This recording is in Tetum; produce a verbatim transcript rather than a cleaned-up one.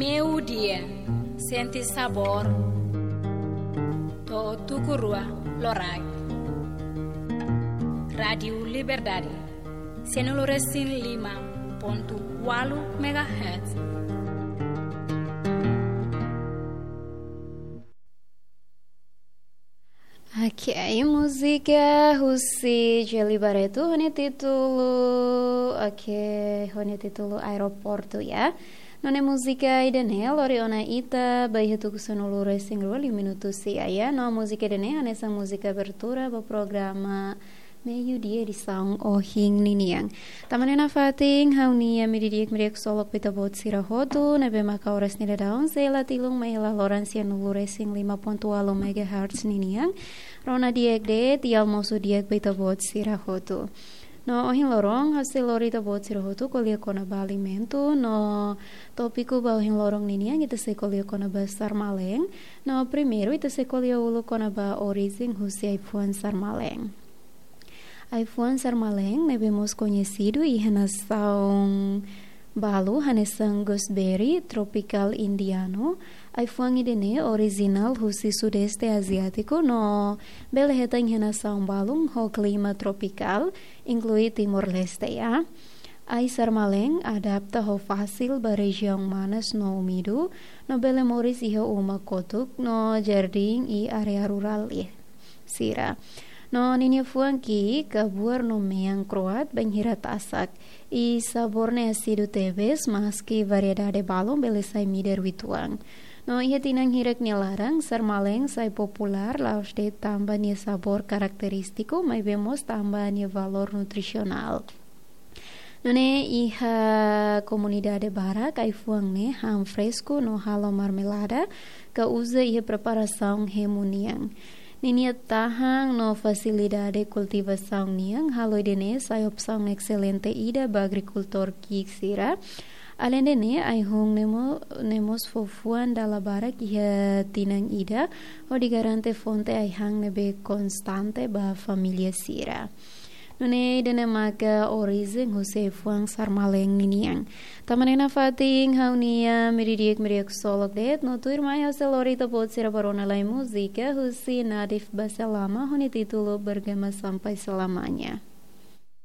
Meiudia, sente sabór. To'o tuku rua loraik. Rádiu Liberdade, sianulu resin lima pontu ualu megahertz. Oke, múzika husi Djeli Barreto ho nia títulu, oke, ho nia títulu Aeroportu, ya. No ne'e múzika ida-ne'e lori ona ita ba iha tuku sanulu resin rua liu minutu sia, ya. No múzika ida-ne'e hanesan múzika abertura ba programa Meiudia edisaun ohin ninian. Tanba ne'e nafatin ha'u-nia imi di'ak, imi di'ak ksolok ba ita-boot sira hotu, ne'ebé maka oras nia daudaun sei la tilun mai iha laloran sianulu resin lima pontu ualu megahertz ninian. Rona di'ak de'it, almosu di'ak ba ita-boot sira hotu. No ohin loron ha'u sei lori ita-boot sira hotu ko'alia kona-ba alimentu, no tópiku ba ohin loron ninian ita sei ko'alia kona-ba sarmalen. No primeiru ita sei ko'alia uluk kona-ba orijen husi ai-fuan sarmalen. Ai-fuan sarmalen ne'ebé mós koñesidu iha nasaun balu hanesan gooseberry tropical indiano. Ai-fuan ida-ne'e orijinál husi Sudeste Aziátiku no bele hetan iha nasaun balun ho klima tropikál, inklui Timor-Leste, ya. Ai sarmalen adapta ho fasil ba rejiaun manas no úmidu, no bele moris iha uma kotuk no jardín i área rurál, ya, sira. No ninia fuan ki'ik, kabuar no mean kro'at, bainhira tasak. I sabór ne'e ásidu tebes, maski variedade balun bele sai midar uitoan. No iha tinan hirak nia laran, sarmalen sai populár, la'ós de'it tanba nia sabór karakterístiku, maibé mós tanba nia valór nutrisionál. Nune'e iha komunidade barak ai-fuan ne'e han fresku no halo marmelada, ka uza iha preparasaun hemu nian. Ninia tahan no fasilidade kultivasaun nian halo ida-ne'e sai opsaun exelente ida ba agrikultór ki'ik sira. Aleinde ne'e, ai-hun ne'e mo-, ne'e mós fó fuan dala barak iha tinan ida, hodi garante fonte ai-han ne'ebé konstante ba família sira. Nune'e ida-ne'e maka orijen husi ai-fuan sarmalen ninian. Tanba ne'e nafatin ha'u-nia imi di'ak, imi di'ak ksolok de'it, no tuirmai ha'u sei lori ita-boot sira ba rona lai múzika husi Nadif Baselama ho nia títulu Bergema Sampai Selamanya.